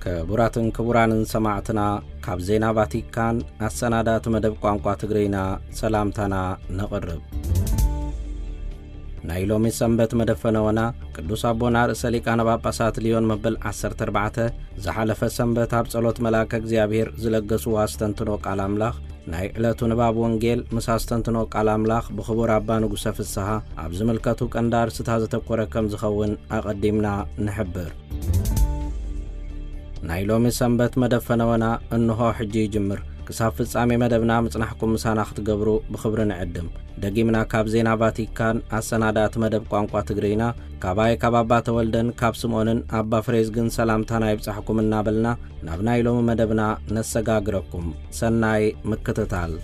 ክቡራትን ክቡራንን ሰማዕትና፣ ካብ ዜና ቫቲካን ኣሰናዳእቲ መደብ ቋንቋ ትግርይና ሰላምታና ነቕርብ። ናይ ሎሚ ሰንበት መደፈነወና ቅዱስ ኣቦና ርእሰ ሊቃነ ጳጳሳት ልዮን መበል ዓሰርተ ኣርባዕተ ዝሓለፈ ሰንበት ኣብ ጸሎት መልኣከ እግዚኣብሔር ዝለገስዎ ኣስተንትኖ ቃል ኣምላኽ፣ ናይ ዕለቱ ንባብ ወንጌል ምስ ኣስተንትኖ ቃል ኣምላኽ ብኽቡር ኣባ ንጉሰ ፍስሃ ኣብ ዝምልከቱ ቀንዲ ኣርእስታት ዘተኮረ ከም ዝኸውን ኣቐዲምና ንሕብር። ናይ ሎሚ ሰንበት መደብ ፈነወና እንሆ ሕጂ ይጅምር። ክሳብ ፍጻሜ መደብና ምጽናሕኩም ምሳና ክትገብሩ ብኽብሪ ንዕድም። ደጊምና ካብ ዜና ቫቲካን ኣሰናዳእቲ መደብ ቋንቋ ትግርይና፣ ካባይ ካብ ኣባ ተወልደን ካብ ስምኦንን ኣባ ፍሬዝግን ሰላምታና ይብጻሕኩም እናበልና፣ ናብ ናይ ሎሚ መደብና ነሰጋግረኩም። ሰናይ ምክትታል።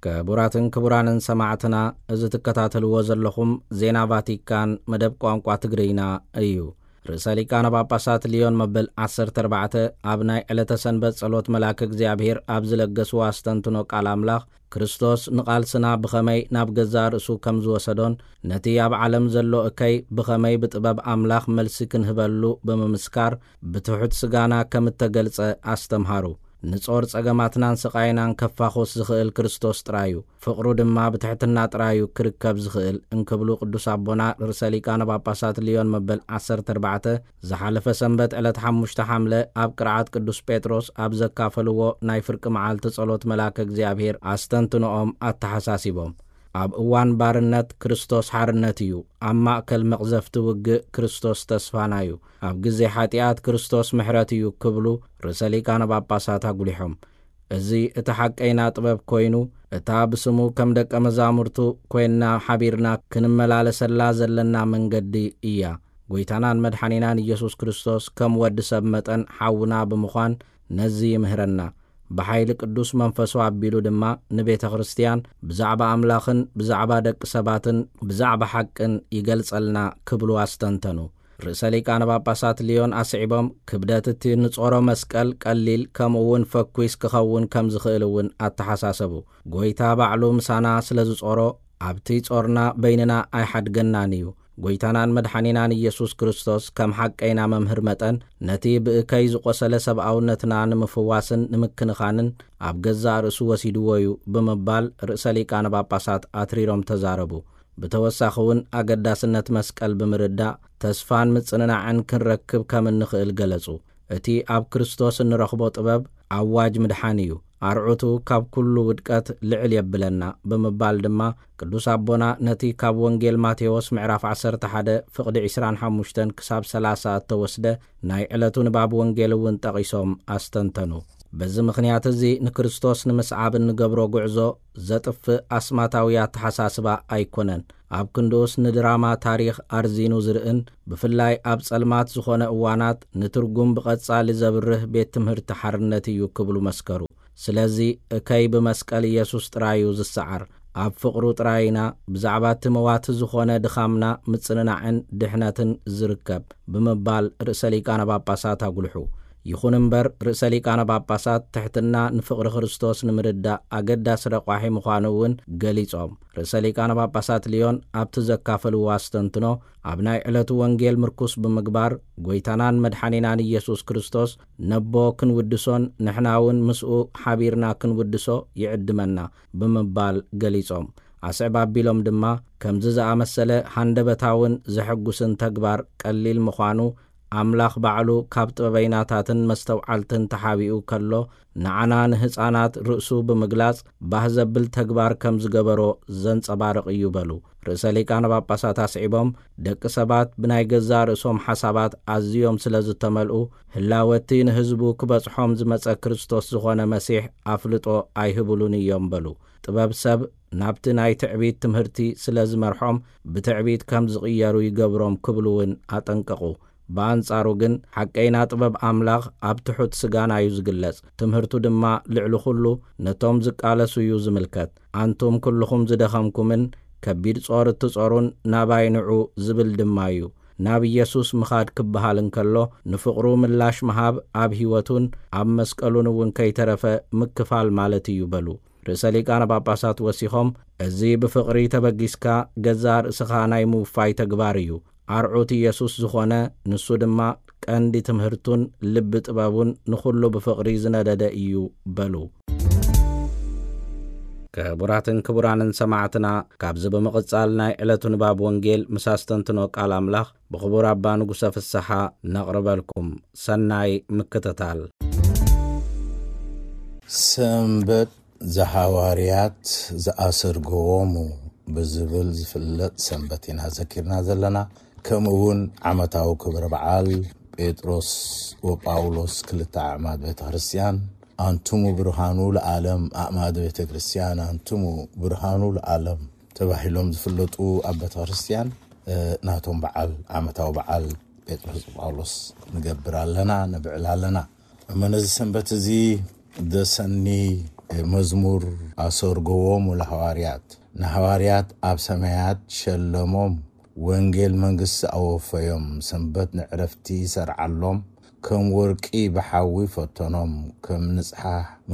ክቡራትን ክቡራንን ሰማዕትና፣ እዚ ትከታተልዎ ዘለኹም ዜና ቫቲካን መደብ ቋንቋ ትግርይና እዩ። ርእሰ ሊቃነ ጳጳሳት ልዮን መበል ዓሰርተ ኣርባዕተ ኣብ ናይ ዕለተ ሰንበት ጸሎት መልኣከ እግዚኣብሔር ኣብ ዝለገስዎ ኣስተንትኖ ቃል ኣምላኽ፣ ክርስቶስ ንቓልስና ብኸመይ ናብ ገዛእ ርእሱ ከም ዝወሰዶን፣ ነቲ ኣብ ዓለም ዘሎ እከይ ብኸመይ ብጥበብ ኣምላኽ መልሲ ክንህበሉ ብምምስካር፣ ብትሑት ስጋና ከም እተገልጸ ኣስተምሃሩ። ንጾር ጸገማትናን ስቓይናን ከፋኹስ ዝኽእል ክርስቶስ ጥራዩ፣ ፍቕሩ ድማ ብትሕትና ጥራዩ ክርከብ ዝኽእል እንክብሉ ቅዱስ ኣቦና ርእሰ ሊቃነ ጳጳሳት ልዮን መበል ዓሰርተ ኣርባዕተ ዝሓለፈ ሰንበት ዕለት ሓሙሽተ ሓምለ ኣብ ቅርዓት ቅዱስ ጴጥሮስ ኣብ ዘካፈልዎ ናይ ፍርቂ መዓልቲ ጸሎት መልኣከ እግዚኣብሔር ኣስተንትኖኦም ኣተሓሳሲቦም። ኣብ እዋን ባርነት ክርስቶስ ሓርነት እዩ፣ ኣብ ማእከል መቕዘፍቲ ውግእ ክርስቶስ ተስፋና እዩ፣ ኣብ ግዜ ሓጢኣት ክርስቶስ ምሕረት እዩ ክብሉ ርእሰ ሊቃነ ጳጳሳት ኣጉሊሖም። እዚ እቲ ሓቀይና ጥበብ ኮይኑ፣ እታ ብስሙ ከም ደቀ መዛሙርቱ ኮይንና ሓቢርና ክንመላለሰላ ዘለና መንገዲ እያ። ጎይታናን መድሓኒናን ኢየሱስ ክርስቶስ ከም ወዲ ሰብ መጠን ሓውና ብምዃን ነዚ ይምህረና። ብሓይሊ ቅዱስ መንፈሱ ኣቢሉ ድማ ንቤተ ክርስቲያን ብዛዕባ ኣምላኽን ብዛዕባ ደቂ ሰባትን ብዛዕባ ሓቅን ይገልጸልና ክብሉ ኣስተንተኑ። ርእሰ ሊቃነ ጳጳሳት ልዮን ኣስዒቦም፣ ክብደት እቲ ንጾሮ መስቀል ቀሊል ከምኡ እውን ፈኲስ ክኸውን ከም ዝኽእል እውን ኣተሓሳሰቡ። ጎይታ ባዕሉ ምሳና ስለ ዝጾሮ፣ ኣብቲ ጾርና በይንና ኣይሓድገናን እዩ። ጎይታናን መድሓኒናን ኢየሱስ ክርስቶስ ከም ሓቀይና መምህር መጠን፣ ነቲ ብእከይ ዝቖሰለ ሰብኣውነትና ንምፍዋስን ንምክንኻንን ኣብ ገዛእ ርእሱ ወሲድዎ እዩ ብምባል ርእሰ ሊቃነ ጳጳሳት ኣትሪሮም ተዛረቡ። ብተወሳኺ እውን ኣገዳስነት መስቀል ብምርዳእ ተስፋን ምጽንናዕን ክንረክብ ከም እንኽእል ገለጹ። እቲ ኣብ ክርስቶስ እንረኽቦ ጥበብ ኣዋጅ ምድሓን እዩ። ኣርዑቱ ካብ ኩሉ ውድቀት ልዕል የብለና ብምባል ድማ ቅዱስ ኣቦና ነቲ ካብ ወንጌል ማቴዎስ ምዕራፍ ዓሰርተ ሓደ ፍቕዲ ዕስራን ሓሙሽተን ክሳብ ሰላሳ እተወስደ ናይ ዕለቱ ንባብ ወንጌል እውን ጠቒሶም ኣስተንተኑ። በዚ ምኽንያት እዚ ንክርስቶስ ንምስዓብ እንገብሮ ጉዕዞ ዘጥፍእ ኣስማታዊ ኣተሓሳስባ ኣይኮነን። ኣብ ክንድኡስ ንድራማ ታሪኽ ኣርዚኑ ዝርእን ብፍላይ ኣብ ጸልማት ዝኾነ እዋናት ንትርጉም ብቐጻሊ ዘብርህ ቤት ትምህርቲ ሓርነት እዩ ክብሉ መስከሩ። ስለዚ እከይ ብመስቀል ኢየሱስ ጥራዩ ዝሰዓር፣ ኣብ ፍቕሩ ጥራይ ኢና ብዛዕባ እቲ መዋቲ ዝኾነ ድኻምና ምጽንናዕን ድሕነትን ዝርከብ ብምባል ርእሰ ሊቃነ ጳጳሳት ኣጉልሑ። ይኹን እምበር ርእሰ ሊቃነ ጳጳሳት ትሕትና ንፍቕሪ ክርስቶስ ንምርዳእ ኣገዳሲ ረቋሒ ምዃኑ እውን ገሊጾም። ርእሰ ሊቃነ ጳጳሳት ልዮን ኣብቲ ዘካፈልዎ ኣስተንትኖ ኣብ ናይ ዕለቱ ወንጌል ምርኩስ ብምግባር ጎይታናን መድሓኒናን ኢየሱስ ክርስቶስ ነቦ ክንውድሶን ንሕና እውን ምስኡ ሓቢርና ክንውድሶ ይዕድመና ብምባል ገሊጾም። ኣስዕብ ኣቢሎም ድማ ከምዚ ዝኣመሰለ ሃንደበታውን ዘሐጉስን ተግባር ቀሊል ምዃኑ ኣምላኽ ባዕሉ ካብ ጥበበይናታትን መስተውዓልትን ተሓቢኡ ከሎ ንዓና ንህፃናት ርእሱ ብምግላጽ ባህ ዘብል ተግባር ከም ዝገበሮ ዘንጸባርቕ እዩ በሉ። ርእሰ ሊቃነ ጳጳሳት ኣስዒቦም ደቂ ሰባት ብናይ ገዛእ ርእሶም ሓሳባት ኣዝዮም ስለ ዝተመልኡ ህላወቲ ንህዝቡ ክበጽሖም ዝመጸ ክርስቶስ ዝኾነ መሲሕ ኣፍልጦ ኣይህብሉን እዮም በሉ። ጥበብ ሰብ ናብቲ ናይ ትዕቢት ትምህርቲ ስለ ዝመርሖም ብትዕቢት ከም ዝቕየሩ ይገብሮም ክብሉ እውን ኣጠንቀቑ። ብኣንጻሩ ግን ሓቀይና ጥበብ ኣምላኽ ኣብ ትሑት ስጋና እዩ ዝግለጽ። ትምህርቱ ድማ ልዕሊ ኩሉ ነቶም ዝቃለሱ እዩ ዝምልከት። ኣንቱም ኩልኹም ዝደኸምኩምን ከቢድ ጾር እትጾሩን ናባይ ንዑ ዝብል ድማ እዩ። ናብ ኢየሱስ ምኻድ ክበሃል እንከሎ ንፍቕሩ ምላሽ ምሃብ ኣብ ህይወቱን ኣብ መስቀሉን እውን ከይተረፈ ምክፋል ማለት እዩ በሉ። ርእሰ ሊቃነ ጳጳሳት ወሲኾም እዚ ብፍቕሪ ተበጊስካ ገዛእ ርእስኻ ናይ ምውፋይ ተግባር እዩ። ኣርዑት ኢየሱስ ዝኾነ፣ ንሱ ድማ ቀንዲ ትምህርቱን ልቢ ጥበቡን ንኹሉ ብፍቕሪ ዝነደደ እዩ በሉ። ክቡራትን ክቡራንን ሰማዕትና፣ ካብዚ ብምቕጻል ናይ ዕለቱ ንባብ ወንጌል ምስ ኣስተንትኖ ቃል ኣምላኽ ብኽቡር ኣባ ንጉሰ ፍስሓ ነቕርበልኩም። ሰናይ ምክትታል። ሰንበት ዘሃዋርያት ዘኣሰርገዎሙ ብዝብል ዝፍለጥ ሰንበት ኢና ዘኪርና ዘለና። ከምኡ እውን ዓመታዊ ክብረ በዓል ጴጥሮስ ወጳውሎስ ክልተ ኣዕማድ ቤተ ክርስቲያን፣ ኣንቱሙ ብርሃኑ ለዓለም ኣዕማደ ቤተ ክርስቲያን፣ ኣንቱሙ ብርሃኑ ለዓለም ተባሂሎም ዝፍለጡ ኣብ ቤተ ክርስቲያን፣ እ፣ ናቶም በዓል፣ ዓመታዊ በዓል ጴጥሮስ ጳውሎስ ንገብር ኣለና፣ ነብዕል ኣለና። እሞ ነዚ ሰንበት እዚ ደሰኒ መዝሙር ኣሰርገዎም ለሃዋርያት፣ ንሃዋርያት ኣብ ሰማያት ሸለሞም፣ ወንጌል መንግስቲ ኣወፈዮም፣ ሰንበት ንዕረፍቲ ሰርዓሎም፣ ከም ወርቂ ብሓዊ ፈተኖም፣ ከም ንጽሓ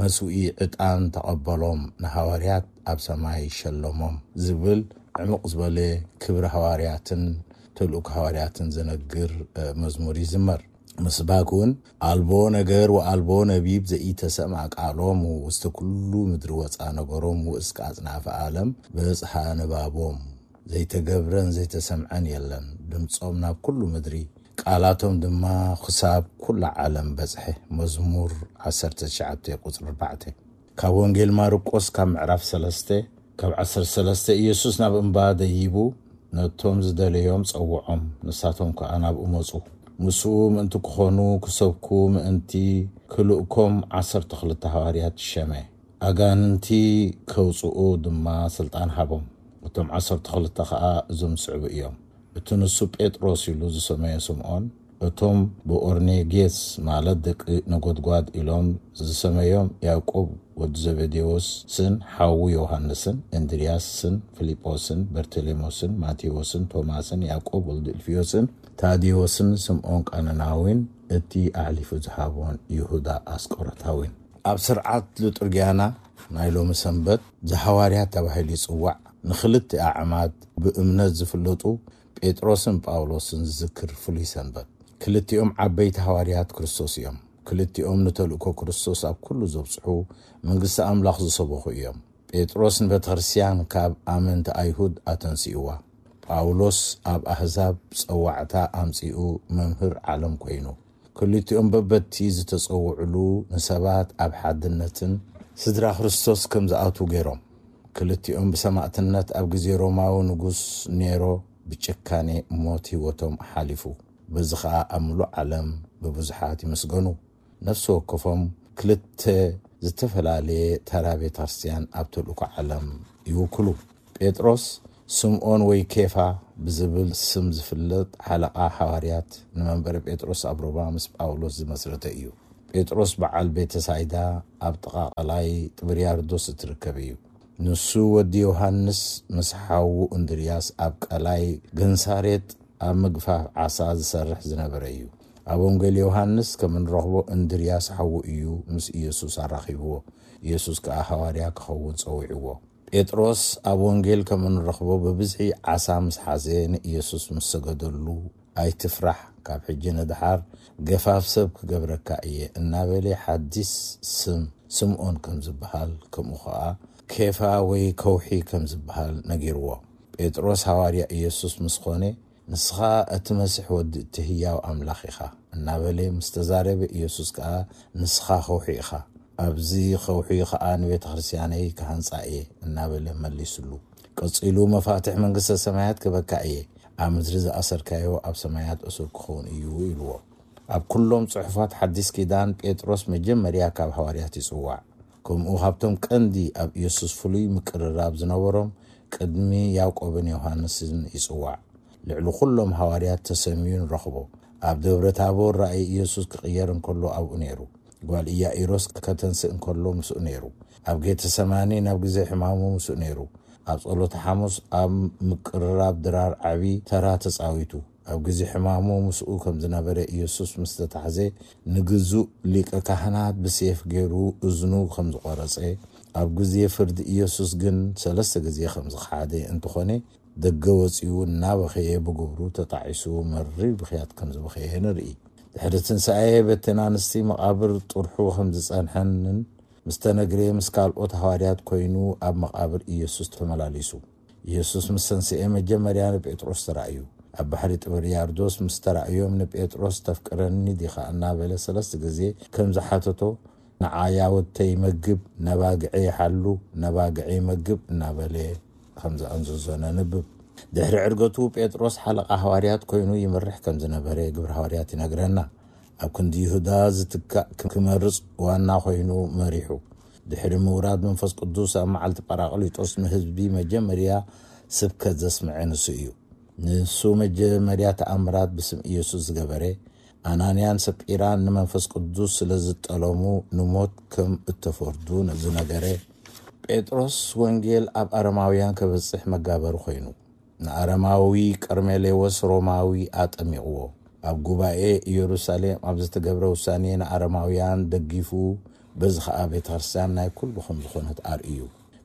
መስውኢ ዕጣን ተቐበሎም፣ ንሃዋርያት ኣብ ሰማይ ሸለሞም ዝብል ዕሙቕ ዝበለ ክብሪ ሃዋርያትን ተልእኮ ሃዋርያትን ዘነግር፣ እ፣ መዝሙር ይዝመር። ምስባክ እውን፣ ኣልቦ ነገር ወኣልቦ ነቢብ ዘኢተሰምዐ ቃሎም፣ ውስተ ኩሉ ምድሪ ወፃ ነገሮም፣ ወእስከ ኣጽናፈ ዓለም በጽሐ ንባቦም። ዘይተገብረን ዘይተሰምዐን የለን፣ ድምፆም ናብ ኩሉ ምድሪ፣ ቃላቶም ድማ ክሳብ ኩላ ዓለም በጽሐ። መዝሙር ዓሰርተ ትሽዓተ ቁጽሪ ኣርባዕተ። ካብ ወንጌል ማርቆስ ካብ ምዕራፍ ሰለስተ፣ ካብ ዓሰርተ ሰለስተ፣ ኢየሱስ ናብ እምባ ደይቡ ነቶም ዝደለዮም ጸውዖም፣ ንሳቶም ከኣ ናብኡ መጹ። ምስኡ ምእንቲ ክኾኑ ክሰብኩ ምእንቲ ክልእኮም ዓሰርተ ክልተ ሃዋርያት ሸመ። ኣጋንንቲ ከውጽኡ ድማ ስልጣን ሃቦም። እቶም ዓሰርተ ክልተ ከኣ እዞም ዝስዕቡ እዮም። እቲ ንሱ ጴጥሮስ ኢሉ ዝሰመዮ ስምዖን፣ እቶም ብኦርኔጌስ ማለት ደቂ ነጎድጓድ ኢሎም ዝሰመዮም ያዕቆብ ወዲ ዘቤዴዎስን ሓዉ ዮሃንስን፣ እንድርያስን ፊልጶስን በርተሌሞስን ማቴዎስን ቶማስን ያዕቆብ ወልዲ እልፍዮስን ታዴዎስን ስምዖን ቃነናዊን እቲ ኣሕሊፉ ዝሃቦን ይሁዳ ኣስቆሮታዊን። ኣብ ስርዓት ሊጡርጊያና ናይ ሎሚ ሰንበት ዘሃዋርያት ተባሂሉ ይጽዋዕ። ንኽልተ ኣዕማድ ብእምነት ዝፍለጡ ጴጥሮስን ጳውሎስን ዝዝክር ፍሉይ ሰንበት። ክልቲኦም ዓበይቲ ሃዋርያት ክርስቶስ እዮም። ክልቲኦም ንተልእኮ ክርስቶስ ኣብ ኩሉ ዘብጽሑ፣ መንግስቲ ኣምላኽ ዝሰበኹ እዮም። ጴጥሮስ ንቤተ ክርስቲያን ካብ ኣመንቲ ኣይሁድ ኣተንሲእዋ። ጳውሎስ ኣብ ኣህዛብ ጸዋዕታ ኣምጺኡ መምህር ዓለም ኮይኑ። ክልቲኦም በበቲ ዝተጸውዕሉ ንሰባት ኣብ ሓድነትን ስድራ ክርስቶስ ከም ዝኣትዉ ገይሮም። ክልቲኦም ብሰማእትነት ኣብ ግዜ ሮማዊ ንጉስ ኔሮ ብጭካኔ ሞት ህይወቶም ሓሊፉ። በዚ ኸኣ ኣብ ምሉእ ዓለም ብብዙሓት ይምስገኑ። ነፍሲ ወከፎም ክልተ ዝተፈላለየ ተራ ቤተ ክርስቲያን ኣብ ተልእኮ ዓለም ይውክሉ። ጴጥሮስ፣ ስምዖን ወይ ኬፋ ብዝብል ስም ዝፍለጥ ሓለቓ ሓዋርያት፣ ንመንበረ ጴጥሮስ ኣብ ሮማ ምስ ጳውሎስ ዝመስረተ እዩ። ጴጥሮስ በዓል ቤተ ሳይዳ ኣብ ጥቓ ቀላይ ጥብርያርዶስ እትርከብ እዩ። ንሱ ወዲ ዮሃንስ ምስ ሓዉ እንድርያስ ኣብ ቀላይ ገንሳሬጥ ኣብ ምግፋፍ ዓሳ ዝሰርሕ ዝነበረ እዩ። ኣብ ወንጌል ዮሃንስ ከም እንረኽቦ እንድርያስ ሓዉ እዩ ምስ ኢየሱስ ኣራኺብዎ። ኢየሱስ ከኣ ሃዋርያ ክኸውን ጸዊዕዎ። ጴጥሮስ ኣብ ወንጌል ከም እንረኽቦ ብብዝሒ ዓሳ ምስ ሓዘ ንኢየሱስ ምስ ሰገደሉ፣ "ኣይትፍራሕ፣ ካብ ሕጂ ንደሓር ገፋፍ ሰብ ክገብረካ እየ" እናበለ ሓዲስ ስም ስምዖን ከም ዝበሃል፣ ከምኡ ኸኣ ኬፋ ወይ ከውሒ ከም ዝበሃል ነጊርዎ። ጴጥሮስ ሃዋርያ ኢየሱስ ምስ ኾነ፣ "ንስኻ እቲ መሲሕ ወዲ እቲ ህያው ኣምላኽ ኢኻ" እናበለ ምስ ተዛረበ፣ ኢየሱስ ከኣ፣ "ንስኻ ከውሒ ኢኻ፣ ኣብዚ ከውሒ ኸኣ ንቤተ ክርስቲያነይ ክሃንጻ እየ" እናበለ መሊሱሉ። ቀጺሉ፣ "መፋትሕ መንግስተ ሰማያት ክበካ እየ፣ ኣብ ምድሪ ዝኣሰርካዮ ኣብ ሰማያት እሱር ክኸውን እዩ" ኢልዎ። ኣብ ኩሎም ጽሑፋት ሓዲስ ኪዳን ጴጥሮስ መጀመርያ ካብ ሃዋርያት ይጽዋዕ። ከምኡ ካብቶም ቀንዲ ኣብ ኢየሱስ ፍሉይ ምቅርራብ ዝነበሮም ቅድሚ ያዕቆብን ዮሃንስን ይጽዋዕ። ልዕሊ ኩሎም ሃዋርያት ተሰምዩ ንረኽቦ። ኣብ ደብረ ታቦር ራእይ ኢየሱስ ክቕየር እንከሎ ኣብኡ ነይሩ። ጓል ኢያኢሮስ ከተንስእ እንከሎ ምስኡ ነይሩ። ኣብ ጌተሰማኒ ናብ ግዜ ሕማሙ ምስኡ ነይሩ። ኣብ ጸሎተ ሓሙስ ኣብ ምቅርራብ ድራር ዓቢ ተራ ተጻዊቱ። ኣብ ግዜ ሕማሙ ምስኡ ከም ዝነበረ ኢየሱስ ምስ ተታሕዘ፣ ንግዙእ ሊቀ ካህናት ብሴፍ ገይሩ እዝኑ ከም ዝቖረጸ፣ ኣብ ግዜ ፍርዲ ኢየሱስ ግን ሰለስተ ግዜ ከም ዝኸሓደ እንተኾነ፣ ደገ ወጺኡ እናበኸየ ብግብሩ ተጣዒሱ መሪር ብኽያት ከም ዝበኸየ ንርኢ። ድሕሪ ትንሳኤ በተን ኣንስቲ መቓብር ጥርሑ ከም ዝጸንሐንን ምስ ተነግረ ምስ ካልኦት ሃዋርያት ኮይኑ ኣብ መቓብር ኢየሱስ ተመላሊሱ። ኢየሱስ ምስ ተንስኤ መጀመርያ ንጴጥሮስ ተራእዩ። ኣብ ባሕሪ ጥብርያርዶስ ምስ ተራእዮም ንጴጥሮስ ተፍቅረኒ ዲኻ እናበለ ሰለስተ ግዜ ከም ዝሓተቶ ንዓያ ወተይ መግብ ነባግዐ ይሓሉ ነባግዐ መግብ እናበለ ከም ዘኣንዘዞ ነንብብ። ድሕሪ ዕርገቱ ጴጥሮስ ሓለቓ ሃዋርያት ኮይኑ ይመርሕ ከም ዝነበረ ግብሪ ሃዋርያት ይነግረና። ኣብ ክንዲ ይሁዳ ዝትካእ ክመርጽ ዋና ኮይኑ መሪሑ። ድሕሪ ምውራድ መንፈስ ቅዱስ ኣብ መዓልቲ ጳራቅሊጦስ ንህዝቢ መጀመርያ ስብከት ዘስምዐ ንሱ እዩ። ንሱ መጀመርያ ተኣምራት ብስም ኢየሱስ ዝገበረ፣ ኣናንያን ሰጲራን ንመንፈስ ቅዱስ ስለ ዝጠለሙ ንሞት ከም እተፈርዱ ዝነገረ። ጴጥሮስ ወንጌል ኣብ ኣረማውያን ከበጽሕ መጋበሪ ኮይኑ፣ ንኣረማዊ ቀርሜሌዎስ ሮማዊ ኣጠሚቕዎ። ኣብ ጉባኤ ኢየሩሳሌም ኣብ ዝተገብረ ውሳኔ ንኣረማውያን ደጊፉ፣ በዚ ኸኣ ቤተ ክርስቲያን ናይ ኩሉ ከም ዝኾነት ኣርእዩ።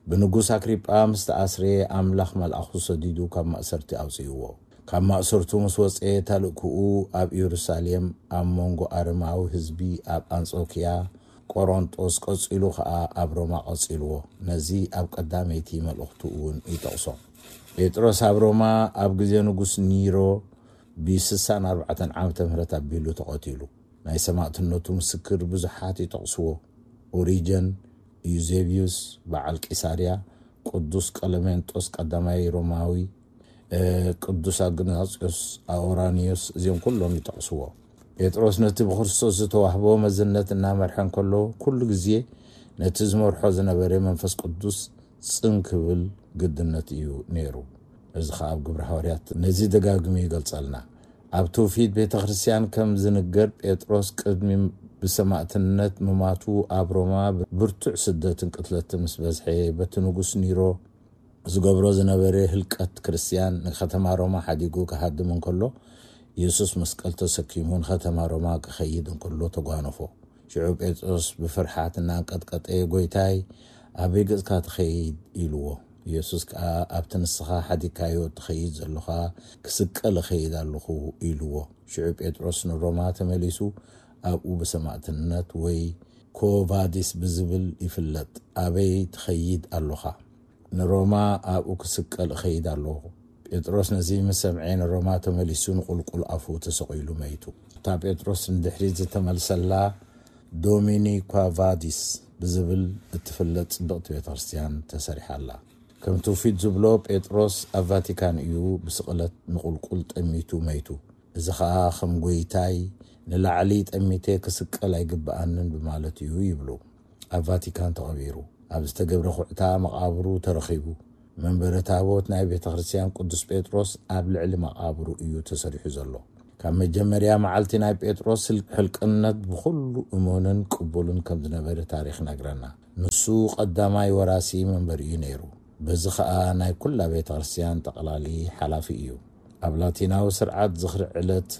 ብንጉስ ኣክሪጳ ምስ ተኣስረ ኣምላኽ መልኣኹ ሰዲዱ ካብ ማእሰርቲ ኣውጽእዎ። ካብ ማእሰርቱ ምስ ወጸ ተልእክኡ ኣብ ኢየሩሳሌም ኣብ መንጎ ኣረማዊ ህዝቢ ኣብ ኣንጾኪያ፣ ቆሮንጦስ ቀጺሉ ኸኣ ኣብ ሮማ ቀጺልዎ። ነዚ ኣብ ቀዳመይቲ መልእኽቱ እውን ይጠቕሶ። ጴጥሮስ ኣብ ሮማ ኣብ ግዜ ንጉስ ኒሮ ብ64 ዓመተ ምህረት ኣቢሉ ተቐቲሉ። ናይ ሰማእትነቱ ምስክር ብዙሓት ይጠቕስዎ። ኦሪጀን፣ ዩዜብዩስ በዓል ቂሳርያ፣ ቅዱስ ቀለሜንጦስ ቀዳማይ ሮማዊ፣ ቅዱስ ኣግናጽዮስ ኣውራኒዮስ፣ እዚኦም ኩሎም ይጠቕስዎ። ጴጥሮስ ነቲ ብክርስቶስ ዝተዋህቦ መዝነት እናመርሐ እንከሎ ኩሉ ግዜ ነቲ ዝመርሖ ዝነበረ መንፈስ ቅዱስ ጽን ክብል ግድነት እዩ ነይሩ። እዚ ኸኣ ኣብ ግብሪ ሃዋርያት ነዚ ደጋግሙ ይገልጸልና። ኣብ ትውፊት ቤተ ክርስቲያን ከም ዝንገር ጴጥሮስ ቅድሚ ብሰማእትነት ምማቱ ኣብ ሮማ ብርቱዕ ስደትን ቅትለትን ምስ በዝሐ በቲ ንጉስ ኒሮ ዝገብሮ ዝነበረ ህልቀት ክርስቲያን ንከተማ ሮማ ሓዲጉ ክሃድም እንከሎ፣ ኢየሱስ መስቀል ተሰኪሙ ንከተማ ሮማ ክኸይድ እንከሎ ተጓነፎ። ሽዑ ጴጥሮስ ብፍርሓት እናንቀጥቀጠ፣ "ጎይታይ፣ ኣበይ ገጽካ ትኸይድ?" ኢልዎ። ኢየሱስ ከኣ፣ "ኣብቲ ንስኻ ሓዲግካዮ እትኸይድ ዘሎኻ ክስቀል እኸይድ ኣለኹ" ኢልዎ። ሽዑ ጴጥሮስ ንሮማ ተመሊሱ ኣብኡ ብሰማእትነት ወይ ኮቫዲስ ብዝብል ይፍለጥ። "ኣበይ ትኸይድ ኣሎኻ?" "ንሮማ ኣብኡ ክስቀል እኸይድ ኣለኹ።" ጴጥሮስ ነዚ ምስ ሰምዐ ንሮማ ተመሊሱ ንቁልቁል ኣፉ ተሰቒሉ መይቱ። እታ ጴጥሮስ ንድሕሪት ዝተመልሰላ ዶሚኒኳ ቫዲስ ብዝብል እትፍለጥ ጽብቕቲ ቤተ ክርስቲያን ተሰሪሓ ኣላ። ከም ትውፊት ዝብሎ ጴጥሮስ ኣብ ቫቲካን እዩ ብስቕለት ንቁልቁል ጠሚቱ መይቱ። እዚ ኸኣ ከም ጎይታይ ንላዕሊ ጠሚተ ክስቀል ኣይግብኣንን ብማለት እዩ ይብሉ። ኣብ ቫቲካን ተቐቢሩ። ኣብ ዝተገብረ ኩዕታ መቓብሩ ተረኺቡ። መንበረ ታቦት ናይ ቤተ ክርስቲያን ቅዱስ ጴጥሮስ ኣብ ልዕሊ መቓብሩ እዩ ተሰሪሑ ዘሎ። ካብ መጀመርያ መዓልቲ ናይ ጴጥሮስ ህል-፣ ሕልቅነት ብኹሉ እሙንን ቅቡልን ከም ዝነበረ ታሪኽ ይነግረና። ንሱ ቀዳማይ ወራሲ መንበር እዩ ነይሩ። በዚ ኸኣ ናይ ኩላ ቤተ ክርስቲያን ጠቕላሊ ሓላፊ እዩ። ኣብ ላቲናዊ ስርዓት ዝኽሪ ዕለት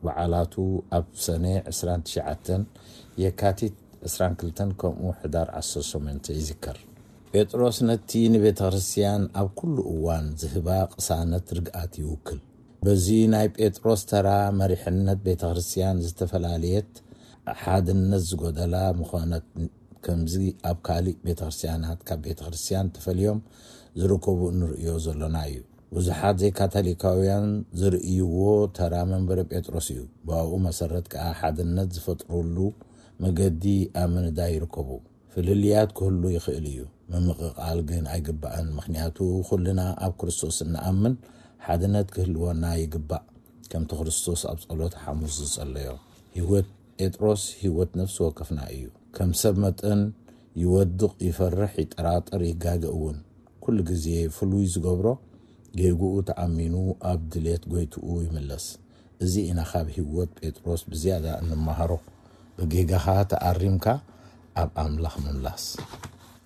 በዓላቱ ኣብ ሰነ ዕስራን ትሽዓተን፣ የካቲት ዕስራን ክልተን፣ ከምኡ ሕዳር ዓሰርተ ሸሞንተ ይዝከር። ጴጥሮስ ነቲ ንቤተ ክርስቲያን ኣብ ኩሉ እዋን ዝህባ ቅሳነት ርግኣት ይውክል። በዚ ናይ ጴጥሮስ ተራ መሪሕነት ቤተ ክርስቲያን ዝተፈላለየት፣ ሓድነት ዝጎደላ ምኾነት። ከምዚ ኣብ ካልእ ቤተ ክርስቲያናት ካብ ቤተ ክርስቲያን ተፈልዮም ዝርከቡ እንርእዮ ዘሎና እዩ። ብዙሓት ዘይካቶሊካውያን ዝርእይዎ ተራ መንበረ ጴጥሮስ እዩ። ብኣኡ መሰረት ከኣ ሓድነት ዝፈጥሩሉ መገዲ ኣብ ምንዳይ ይርከቡ። ፍልልያት ክህሉ ይኽእል እዩ፣ ምምቕቓል ግን ኣይግባእን። ምኽንያቱ ኩልና ኣብ ክርስቶስ እንኣምን ሓድነት ክህልወና ይግባእ። ከምቲ ክርስቶስ ኣብ ጸሎተ ሓሙስ ዝጸለዮ፣ ህይወት ጴጥሮስ ህይወት ነፍሲ ወከፍና እዩ። ከም ሰብ መጠን ይወድቕ፣ ይፈርሕ፣ ይጠራጠር፣ ይጋገ እውን። ኩሉ ግዜ ፍሉይ ዝገብሮ ጌግኡ ተኣሚኑ ኣብ ድሌት ጎይትኡ ይምለስ። እዚ ኢና ካብ ህይወት ጴጥሮስ ብዝያዳ እንመሃሮ። ብጌጋኻ ተኣሪምካ ኣብ ኣምላኽ ምምላስ።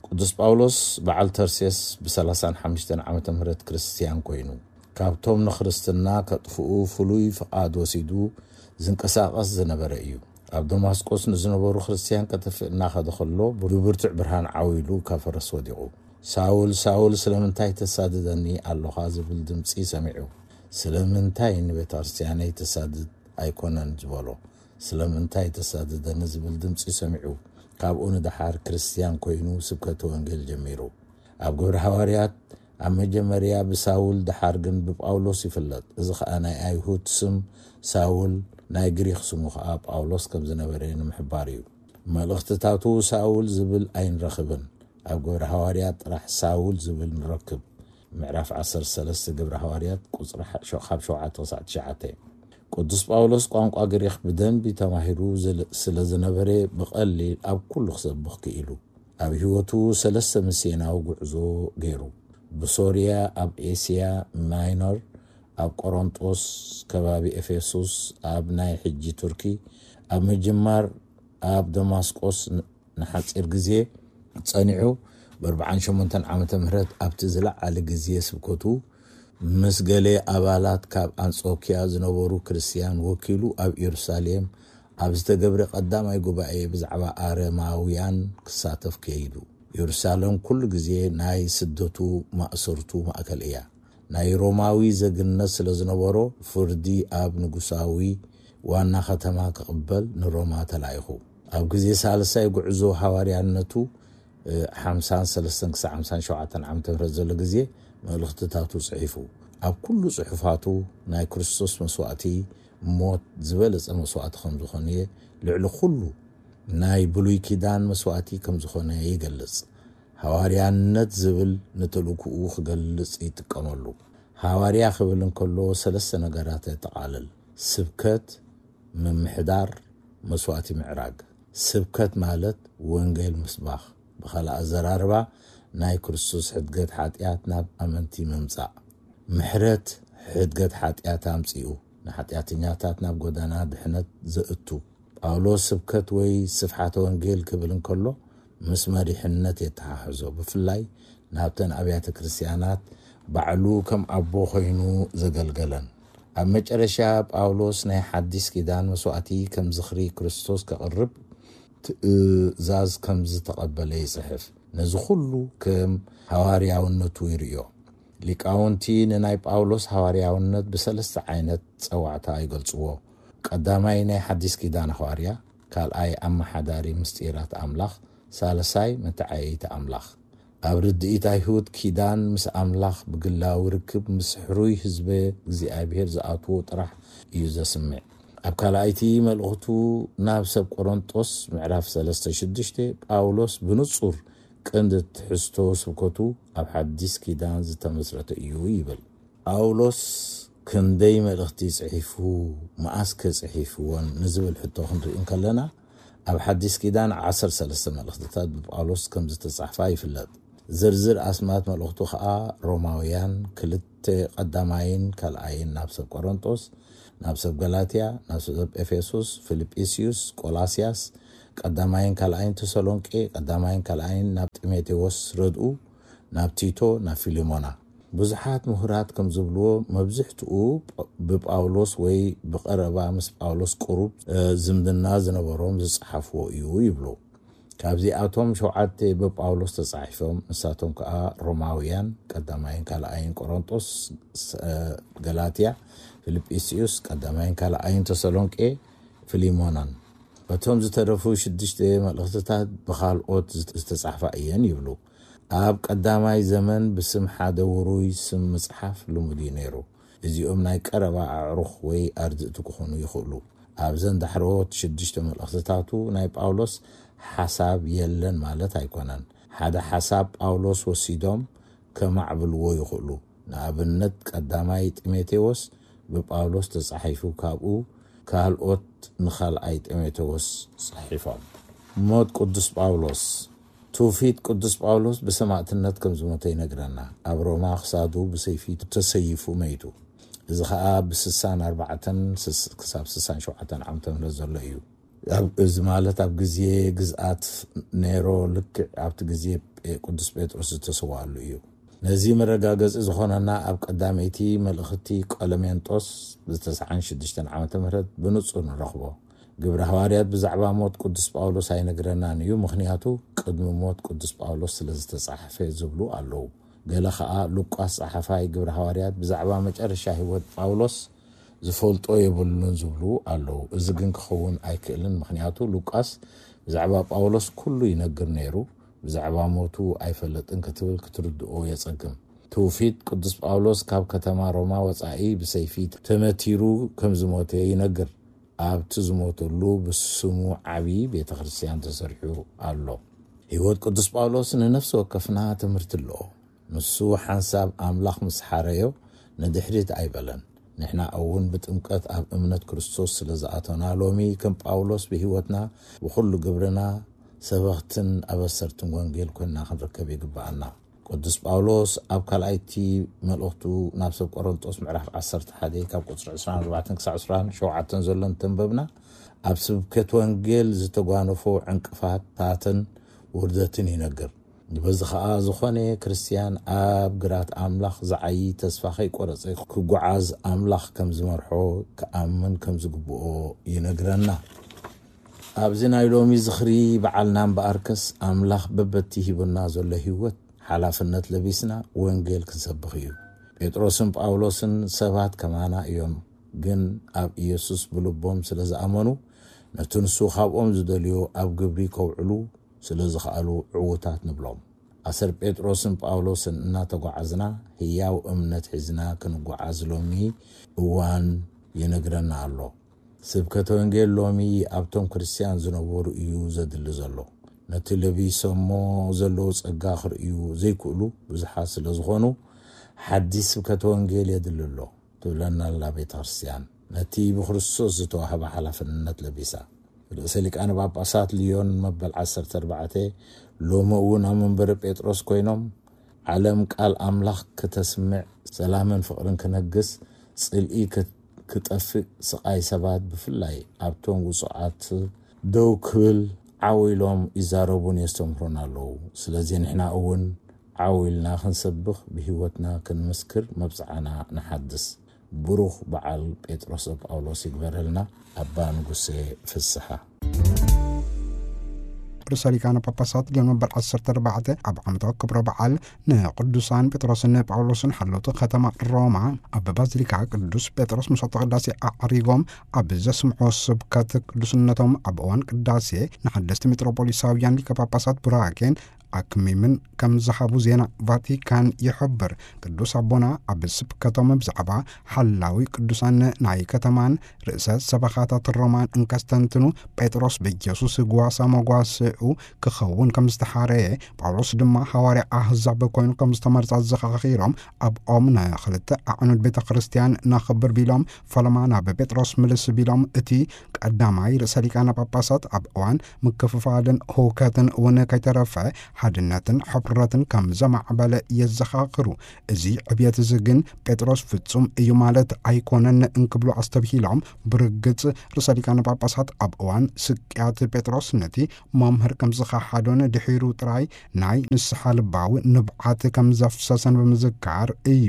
ቅዱስ ጳውሎስ በዓል ተርሴስ ብ35 ዓመተ ምህረት ክርስትያን ኮይኑ፣ ካብቶም ንክርስትና ከጥፍኡ ፍሉይ ፍቓድ ወሲዱ ዝንቀሳቐስ ዝነበረ እዩ። ኣብ ደማስቆስ ንዝነበሩ ክርስትያን ከጥፍእ እናኸደ ከሎ፣ ብብርቱዕ ብርሃን ዓው ኢሉ ካብ ፈረስ ወዲቑ። ሳውል፣ ሳውል፣ ስለምንታይ ተሳድደኒ ኣለኻ? ዝብል ድምጺ ሰሚዑ። ስለምንታይ ንቤተ ክርስቲያነይ ተሳድድ ኣይኮነን ዝበሎ? ስለምንታይ ተሳድደኒ ዝብል ድምጺ ሰሚዑ። ካብኡ ንደሓር ክርስትያን ኮይኑ ስብከተ ወንጌል ጀሚሩ። ኣብ ግብረ ሃዋርያት ኣብ መጀመርያ ብሳውል፣ ደሓር ግን ብጳውሎስ ይፍለጥ። እዚ ኸኣ ናይ ኣይሁድ ስም ሳውል፣ ናይ ግሪኽ ስሙ ኸኣ ጳውሎስ ከም ዝነበረ ንምሕባር እዩ። መልእኽትታቱ ሳውል ዝብል ኣይንረኽብን። ኣብ ግብረ ሃዋርያት ጥራሕ ሳውል ዝብል ንረክብ። ምዕራፍ ዓሰርተ ሰለስተ ግብረ ሃዋርያት ቁጽሪ ሓ-፣ ሸ-፣ ካብ ሸውዓተ ክሳዕ ትሽዓተ። ቅዱስ ጳውሎስ ቋንቋ ግሪኽ ብደንቢ ተማሂሩ ዝል-፣ ስለ ዝነበረ ብቐሊል ኣብ ኩሉ ክሰብኽ ክኢሉ። ኣብ ህይወቱ ሰለስተ ሚስዮናዊ ጉዕዞ ገይሩ። ብሶርያ፣ ኣብ ኤስያ ማይኖር፣ ኣብ ቆሮንጦስ፣ ከባቢ ኤፌሶስ፣ ኣብ ናይ ሕጂ ቱርኪ፣ ኣብ ምጅማር ኣብ ደማስቆስ ን-፣ ንሓጺር ግዜ ጸኒሑ፣ ብ ኣርባዓን ሸሞንተን ዓመተ ምህረት ኣብቲ ዝለዓለ ግዜ ስብከቱ ምስ ገለ ኣባላት ካብ ኣንጾኪያ ዝነበሩ ክርስትያን ወኪሉ ኣብ ኢየሩሳሌም ኣብ ዝተገብረ ቀዳማይ ጉባኤ ብዛዕባ ኣረማውያን ክሳተፍ ከይዱ። ኢየሩሳሌም ኩሉ ግዜ ናይ ስደቱ ማእሰርቱ ማእከል እያ። ናይ ሮማዊ ዜግነት ስለ ዝነበሮ ፍርዲ ኣብ ንጉሳዊ ዋና ከተማ ክቕበል ንሮማ ተላኢኹ። ኣብ ግዜ ሳልሳይ ጉዕዞ ሃዋርያነቱ፣ እ፣ ሓምሳን ሰለስተን ክሳዕ ሓምሳን ሸውዓተን ዓመተ ምህረት ዘሎ ግዜ መልእኽትታቱ ጽሒፉ። ኣብ ኩሉ ጽሑፋቱ ናይ ክርስቶስ መስዋእቲ ሞት ዝበለጸ መስዋእቲ ከም ዝኾነ፣ ልዕሊ ኩሉ ናይ ብሉይ ኪዳን መስዋእቲ ከም ዝኾነ ይገልጽ። ሃዋርያነት ዝብል ንተልእኮኡ ክገልጽ ይጥቀመሉ። ሃዋርያ ክብል እንከሎ ሰለስተ ነገራት የጠቓልል። ስብከት፣ ምምሕዳር፣ መስዋእቲ ምዕራግ። ስብከት ማለት ወንጌል ምስባኽ፣ ብኻልእ ኣዘራርባ ናይ ክርስቶስ ሕድገት ሓጢኣት ናብ ኣመንቲ ምምጻእ። ምሕረት፣ ሕድገት ሓጢኣት ኣምጺኡ ንሓጢኣተኛታት ናብ ጎዳና ድሕነት ዘእቱ። ጳውሎስ ስብከት ወይ ስፍሓተ ወንጌል ክብል እንከሎ ምስ መሪሕነት የተሓሕዞ፣ ብፍላይ ናብተን ኣብያተ ክርስትያናት ባዕሉ ከም ኣቦ ኮይኑ ዘገልገለን። ኣብ መጨረሻ ጳውሎስ ናይ ሓዲስ ኪዳን መስዋእቲ ከም ዝኽሪ ክርስቶስ ከቕርብ ትእዛዝ ከም ዝተቐበለ ይጽሕፍ። ነዚ ኩሉ ከም ሃዋርያውነቱ ይርእዮ። ሊቃውንቲ ንናይ ጳውሎስ ሃዋርያውነት ብሰለስተ ዓይነት ጸዋዕታ ይገልጽዎ። ቀዳማይ ናይ ሓዲስ ኪዳን ሃዋርያ፣ ካልኣይ ኣመሓዳሪ ምስጢራት ኣምላኽ፣ ሳልሳይ መተዓየይቲ ኣምላኽ። ኣብ ርድኢት ኣይሁድ ኪዳን ምስ ኣምላኽ ብግላዊ ርክብ ምስ ሕሩይ ህዝበ እግዚኣብሔር ዝኣትዎ ጥራሕ እዩ ዘስምዕ። ኣብ ካልኣይቲ መልእኽቱ ናብ ሰብ ቆሮንጦስ ምዕራፍ ሰለስተ ሽዱሽተ ጳውሎስ ብንጹር ቀንዲ ትሕዝቶ ስብከቱ ኣብ ሓዲስ ኪዳን ዝተመስረተ እዩ ይብል። ጳውሎስ ክንደይ መልእኽቲ ጽሒፉ፣ መኣስ ከ ጽሒፍወን ንዝብል ሕቶ ክንርኢ እንከለና፣ ኣብ ሓዲስ ኪዳን ዓሰርተ ሰለስተ መልእኽትታት ብጳውሎስ ከም ዝተጻሕፋ ይፍለጥ። ዝርዝር ኣስማት መልእኽቱ ኸኣ ሮማውያን ክልተ ቀዳማይን ካልኣይን ናብ ሰብ ቆሮንጦስ፣ ናብ ሰብ ገላትያ፣ ናብ ሰብ ኤፌሶስ፣ ፊልጵስዩስ፣ ቆላስያስ፣ ቀዳማይን ካልኣይን ተሰሎንቄ፣ ቀዳማይን ካልኣይን ናብ ጢሞቴዎስ ረድኡ፣ ናብ ቲቶ፣ ናብ ፊልሞና። ብዙሓት ምሁራት ከም ዝብልዎ፣ መብዝሕትኡ ጳ-፣ ብጳውሎስ ወይ ብቐረባ ምስ ጳውሎስ ቅሩብ፣ እ፣ ዝምድና ዝነበሮም ዝጸሓፍዎ እዩ ይብሉ። ካብዚኣቶም ሸውዓተ ብጳውሎስ ተጻሒፎም፣ ንሳቶም ከኣ ሮማውያን፣ ቀዳማይን ካልኣይን ቆሮንጦስ፣ ስ-፣ እ፣ ገላትያ፣ ፊልጵስዩስ፣ ቀዳማይን ካልኣይን ተሰሎንቄ፣ ፊሊሞናን። እቶም ዝተረፉ ሽዱሽተ መልእኽትታት ብኻልኦት ዝት-፣ ዝተጻሕፋ እየን ይብሉ። ኣብ ቀዳማይ ዘመን ብስም ሓደ ውሩይ ስም ምጽሓፍ ልሙድ እዩ ነይሩ። እዚኦም ናይ ቀረባ ኣዕሩኽ ወይ ኣርድእቲ ክኾኑ ይኽእሉ። ኣብዘን ዳሕረዎት ሽዱሽተ መልእኽትታቱ ናይ ጳውሎስ ሓሳብ የለን ማለት ኣይኮነን። ሓደ ሓሳብ ጳውሎስ ወሲዶም ከማዕብልዎ ይኽእሉ። ንኣብነት ቀዳማይ ጢሞቴዎስ ብጳውሎስ ተጻሒፉ፣ ካብኡ ካልኦት ንኻልኣይ ጢሞቴዎስ ጽሒፎም። ሞት ቅዱስ ጳውሎስ። ትውፊት ቅዱስ ጳውሎስ ብሰማእትነት ከም ዝሞተ ይነግረና። ኣብ ሮማ ክሳዱ ብሰይፊ ተሰይፉ መይቱ። እዚ ኸኣ ብ ስሳን ኣርባዕተን ስስ-፣ ክሳብ ስሳን ሸውዓተን ዓመተ ምህረት ዘሎ እዩ። ኣብ፣ እዚ ማለት ኣብ ግዜ ግዝኣት ኔሮ፣ ልክዕ ኣብቲ ግዜ ጴ-፣ ቅዱስ ጴጥሮስ ዝተሰዋኣሉ እዩ። ነዚ መረጋገጺ ዝኾነና ኣብ ቀዳመይቲ መልእኽቲ ቆለሜንጦስ ብተስዓን ሽዱሽተን ዓመተ ምህረት ብንጹር ንረኽቦ። ግብረ ሃዋርያት ብዛዕባ ሞት ቅዱስ ጳውሎስ ኣይነግረናን እዩ፣ ምኽንያቱ ቅድሚ ሞት ቅዱስ ጳውሎስ ስለ ዝተጻሕፈ ዝብሉ ኣለዉ። ገለ ኸኣ ሉቃስ ጸሓፋይ ግብረ ሃዋርያት ብዛዕባ መጨረሻ ህይወት ጳውሎስ ዝፈልጦ የብሉን ዝብሉ ኣለዉ። እዚ ግን ክኸውን ኣይክእልን፣ ምኽንያቱ ሉቃስ ብዛዕባ ጳውሎስ ኩሉ ይነግር ነይሩ፣ ብዛዕባ ሞቱ ኣይፈልጥን ክትብል ክትርድኦ የጸግም። ትውፊት ቅዱስ ጳውሎስ ካብ ከተማ ሮማ ወጻኢ ብሰይፊ ተመቲሩ ከም ዝሞተ ይነግር። ኣብቲ ዝሞተሉ ብስሙ ዓቢ ቤተ ክርስቲያን ተሰሪሑ ኣሎ። ህይወት ቅዱስ ጳውሎስ ንነፍሲ ወከፍና ትምህርቲ ኣለዎ። ንሱ ሓንሳብ ኣምላኽ ምስ ሓረዮ ንድሕሪት ኣይበለን። ንሕና እውን ብጥምቀት ኣብ እምነት ክርስቶስ ስለ ዝኣቶና ሎሚ ከም ጳውሎስ ብህይወትና ብኹሉ ግብርና ሰበኽትን ኣበሰርትን ወንጌል ኮይንና ክንርከብ ይግብኣና። ቅዱስ ጳውሎስ ኣብ ካልኣይቲ መልእኽቱ ናብ ሰብ ቆሮንጦስ ምዕራፍ ዓሰርተ ሓደ ካብ ቁጽሪ ዕስራን ኣርባዕተን ክሳብ ዕስራን ሸውዓተን ዘሎ እንተንበብና፣ ኣብ ስብከት ወንጌል ዝተጓነፎ ዕንቅፋታትን ውርደትን ይነግር። በዚ ኸኣ ዝኾነ ክርስትያን ኣብ ግራት ኣምላኽ ዝዓዪ ተስፋ ከይቆረጸ ክጓዓዝ ኣምላኽ ከም ዝመርሖ ክኣምን ከም ዝግብኦ ይነግረና። ኣብዚ ናይ ሎሚ ዝኽሪ በዓልና እምበኣርከስ ኣምላኽ በበቲ ሂቡና ዘሎ ህይወት ሓላፍነት ለቢስና ወንጌል ክንሰብኽ እዩ። ጴጥሮስን ጳውሎስን ሰባት ከማና እዮም፣ ግን ኣብ ኢየሱስ ብልቦም ስለ ዝኣመኑ ነቲ ንሱ ካብኦም ዝደልዮ ኣብ ግብሪ ከውዕሉ ስለ ዝኸኣሉ ዕዉታት ንብሎም። ኣሰር ጴጥሮስን ጳውሎስን እናተጓዓዝና ህያው እምነት ሒዝና ክንጓዓዝ ሎሚ እዋን ይነግረና ኣሎ። ስብከተ ወንጌል ሎሚ ኣብቶም ክርስትያን ዝነበሩ እዩ ዘድሊ ዘሎ። ነቲ ለቢሶሞ ዘለዉ ጸጋ ክርእዩ ዘይክእሉ ብዙሓት ስለ ዝኾኑ፣ ሓዲስ ስብከተ ወንጌል የድሊ ኣሎ ትብለና ኣላ ቤተ ክርስትያን። ነቲ ብክርስቶስ ዝተዋህበ ሓላፍነት ለቢሳ። ርእሰ ሊቃነ ጳጳሳት ልዮን መበል ዓሰርተ ኣርባዕተ ሎሚ እውን ኣብ መንበሪ ጴጥሮስ ኮይኖም፣ ዓለም ቃል ኣምላኽ ክተስምዕ፣ ሰላምን ፍቕርን ክነግስ፣ ጽልኢ ክጠፍእ፣ ስቓይ ሰባት ብፍላይ ኣብቶም ውጹዓት ደው ክብል ዓው ኢሎም ይዛረቡን የስተምህሩን ኣለዉ። ስለዚ ንሕና እውን ዓው ኢልና ክንሰብኽ፣ ብህይወትና ክንምስክር መብጽዓና ንሓድስ። ብሩኽ በዓል ጴጥሮስ ጳውሎስ ይግበረልና። ኣባ ንጉሴ ፍስሓ። ርእሰ ሊቃነ ጳጳሳት ሊዮን መበል ዓሰርተ ኣርባዕተ ኣብ ዓመታዊ ክብረ በዓል ንቅዱሳን ጴጥሮስን ጳውሎስን ሓለውቲ ከተማ ሮማ ኣብ ባዚሊካ ቅዱስ ጴጥሮስ መስዋዕተ ቅዳሴ ኣዕሪጎም ኣብ ዘስምዖ ስብከት ቅዱስነቶም ኣብ እዋን ቅዳሴ ንሓደስቲ ሜትሮፖሊሳውያን ሊቀ ጳጳሳት ቡራኬን ኣክሚምን ከም ዝሃቡ ዜና ቫቲካን ይሕብር። ቅዱስ ኣቦና ኣብ ስብከቶም ብዛዕባ ሓላዊ ቅዱሳን ናይ ከተማን ርእሰ ሰበኻታት ሮማን እንከስተንትኑ፣ ጴጥሮስ ብኢየሱስ ጓሳ መጓስኡ ክኸውን ከም ዝተሓረየ፣ ጳውሎስ ድማ ሃዋርያ ኣህዛብ ኮይኑ ከም ዝተመርጸ ኣዘኻኺሮም፣ ኣብኦም ንኽልተ ኣዕኑድ ቤተ ክርስቲያን ነኽብር ቢሎም፣ ፈለማ ናብ ጴጥሮስ ምልስ ቢሎም፣ እቲ ቀዳማይ ርእሰ ሊቃነ ጳጳሳት ኣብ እዋን ምክፍፋልን ህውከትን እውን ከይተረፈ ሓድነትን ሕፍረትን ከም ዘማዕበለ የዘኻኽሩ። እዚ ዕብየት እዚ ግን ጴጥሮስ ፍጹም እዩ ማለት ኣይኮነን እንክብሉ ኣስተብሂሎም፣ ብርግጽ ርእሰ ሊቃነ ጳጳሳት ኣብ እዋን ስቅያት ጴጥሮስ ነቲ መምህር ከም ዝኸሓዶን ድሒሩ ጥራይ ናይ ንስሓ ልባዊ ንብዓት ከም ዘፍሰሰን ብምዝካር እዩ።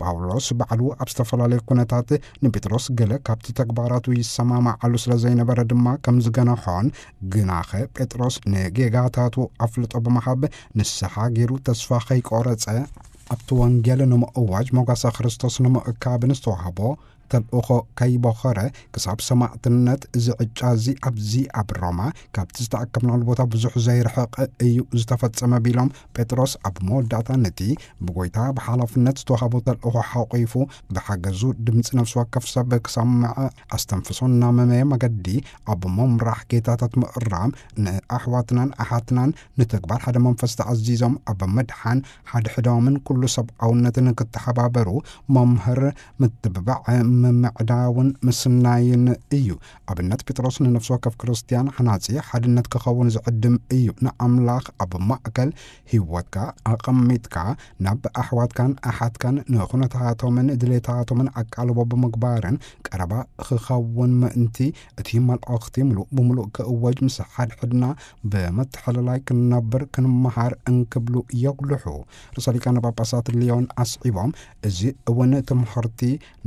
ጳውሎስ ባዕሉ ኣብ ዝተፈላለየ ኩነታት ንጴጥሮስ ገለ ካብቲ ተግባራቱ ይሰማማዓሉ ስለ ዘይነበረ ድማ ከም ዝገነሖን፣ ግናኸ ጴጥሮስ ንጌጋታቱ ኣፍልጦ ብምሃብ ንስሓ ገይሩ ተስፋ ከይቆረጸ፣ ኣብቲ ወንጌል ንምእዋጅ መጓሰ ክርስቶስ ንምእካብ ንዝተዋህቦ ተልእኾ ከይቦኸረ ክሳብ ሰማዕትነት እዚ ዕጫ እዚ ኣብዚ ኣብ ሮማ ካብቲ ዝተኣከብናሉ ቦታ ብዙሕ ዘይርሕቕ እዩ ዝተፈጸመ ቢሎም፣ ጴጥሮስ ኣብ መወዳእታ ነቲ ብጎይታ ብሓላፍነት ዝተዋህቦ ተልእኾ ሓቑፉ ብሓገዙ ድምፂ ነፍሲ ወከፍ ሰብ ክሰምዕ ኣስተንፍሶ እናመመየ መገዲ ኣብ ምምራሕ ጌታታት ምእራም ንኣሕዋትናን ኣሓትናን ንተግባር ሓደ መንፈስ ተኣዚዞም ኣብ ምድሓን ሓድሕዶምን ኩሉ ሰብኣውነትን ክተሓባበሩ መምህር ምትብባዕ ምምዕዳውን ምስናይን እዩ። ኣብነት ጴጥሮስ ንነፍሲ ወከፍ ክርስትያን ሓናጺ ሓድነት ክኸውን ዝዕድም እዩ። ንኣምላኽ ኣብ ማእከል ህይወትካ ኣቐሚጥካ ናብ ኣሕዋትካን ኣሓትካን ንኹነታቶምን ድሌታቶምን ኣቃልቦ ብምግባርን ቀረባ ክኸውን ምእንቲ እቲ መልእኽቲ ምሉእ ብምሉእ ክእወጅ ምስ ሓድሕድና ብምትሕልላይ ክንነብር ክንመሃር እንክብሉ የጉልሑ። ርእሰ ሊቃነ ጳጳሳት ሊዮን ኣስዒቦም፣ እዚ እውን ትምህርቲ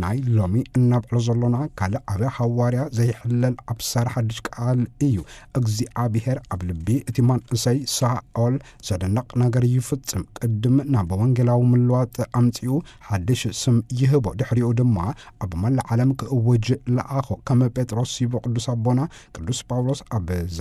ናይ ሎሚ እናብዕሎ ዘሎና ካልእ ዓቢ ሃዋርያ ዘይሕለል ኣብሳሪ ሓድሽ ቃል እዩ። እግዚኣብሔር ኣብ ልቢ እቲ መንእሰይ ሳኦል ዘደንቕ ነገር ይፍጽም። ቅድም ናብ ወንጌላዊ ምልዋጥ ኣምጺኡ ሓድሽ ስም ይህቦ። ድሕሪኡ ድማ ኣብ መላእ ዓለም ክእውጅ ለኣኾ። ከም ጴጥሮስ ይብሎ ቅዱስ ኣቦና ቅዱስ ጳውሎስ ኣብዛ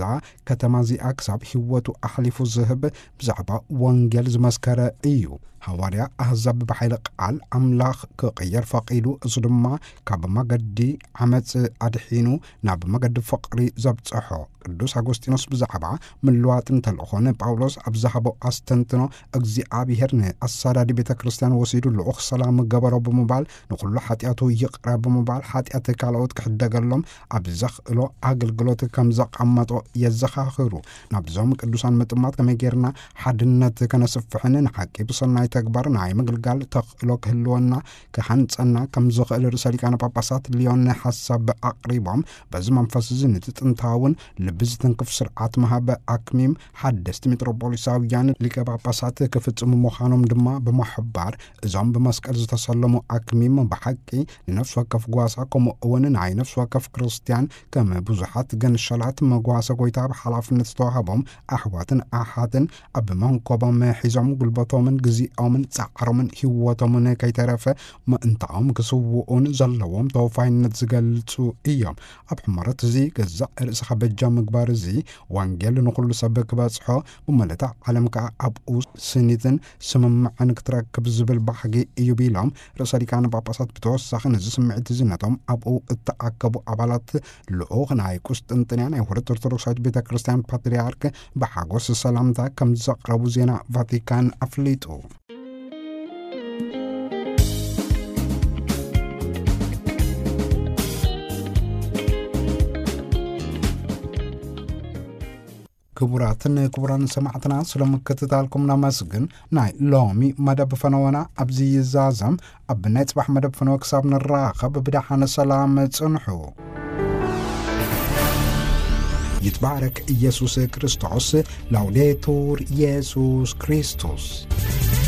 ከተማ እዚኣ ክሳብ ህይወቱ ኣሕሊፉ ዝህብ ብዛዕባ ወንጌል ዝመስከረ እዩ። ሃዋርያ ኣህዛብ ብሓይሊ ቃል ኣምላኽ ክቕየር ፈቒዱ፣ እሱ ድማ ካብ መገዲ ዓመጽ ኣድሒኑ ናብ መገዲ ፍቕሪ ዘብጽሖ። ቅዱስ ኣጎስጢኖስ ብዛዕባ ምልዋጥን ተልእኾን ጳውሎስ ኣብ ዝሃቦ ኣስተንትኖ፣ እግዚኣብሔር ንኣሳዳዲ ቤተ ክርስቲያን ወሲዱ ልኡኽ ሰላም ገበሮ ብምባል፣ ንኹሉ ሓጢኣቱ ይቕረ ብምባል፣ ሓጢኣት ካልኦት ክሕደገሎም ኣብ ዘኽእሎ ኣገልግሎት ከም ዘቐመጦ የዘኻኽሩ። ናብዞም ቅዱሳን ምጥማት ከመይ ጌርና ሓድነት ከነስፍሕን ንሓቂ ብሰናይ ተግባር ናይ ምግልጋል ተኽእሎ ክህልወና ክሃንጸና ከም ዝኽእል ርእሰ ሊቃነ ጳጳሳት ሊዮን ሓሳብ ኣቕሪቦም፣ በዚ መንፈስ እዚ ነቲ ጥንታውን ልቢ ዝትንክፍ ስርዓት ምሃብ ኣክሚም ሓደስቲ ሜትሮፖሊሳውያን ሊቀ ጳጳሳት ክፍጽሙ ምዃኖም ድማ ብምሕባር፣ እዞም ብመስቀል ዝተሰለሙ ኣክሚም ብሓቂ ንነፍሲ ወከፍ ጓሳ፣ ከምኡ እውን ናይ ነፍሲ ወከፍ ክርስቲያን ከም ብዙሓት ገንሸላት መጓሰ ጎይታ ብሓላፍነት ዝተዋህቦም ኣሕዋትን ኣሓትን ኣብ መንኮቦም ሒዞም ጉልበቶምን ግዜኦምን ጻዕሮምን ህይወቶምን ከይተረፈ ምእንታኦም ክስውኡን ዘለዎም ተወፋይነት ዝገልጹ እዮም። ኣብ ሕመረት እዚ ገዛእ ርእስኻ በጃ ምግባር እዚ ወንጌል ንኹሉ ሰብ ክበጽሖ፣ ብመለታ ዓለም ከኣ ኣብኡ ስኒትን ስምምዕን ክትረክብ ዝብል ባህጊ እዩ ቢሎም፣ ርእሰ ሊቃነ ጳጳሳት ብተወሳኺ ነዚ ስምዒት እዚ ነቶም ኣብኡ እተኣከቡ ኣባላት ልኡኽ ናይ ቁስጥንጥንያ ናይ ውህደት ኦርቶዶክሳዊት ቤተ ክርስቲያን ፓትርያርክ ብሓጎስ ሰላምታ ከም ዘቕረቡ ዜና ቫቲካን ኣፍሊጡ። ክቡራትን ክቡራን ሰማዕትና፣ ስለ ምክትታልኩም ነመስግን። ናይ ሎሚ መደብ ፈነወና ኣብዚ ይዛዘም። ኣብ ናይ ጽባሕ መደብ ፈነወ ክሳብ ንራኸብ ብደሓነ ሰላም ጽንሑ። ይትባረክ ኢየሱስ ክርስቶስ። ላውዴቱር ኢየሱስ ክርስቶስ።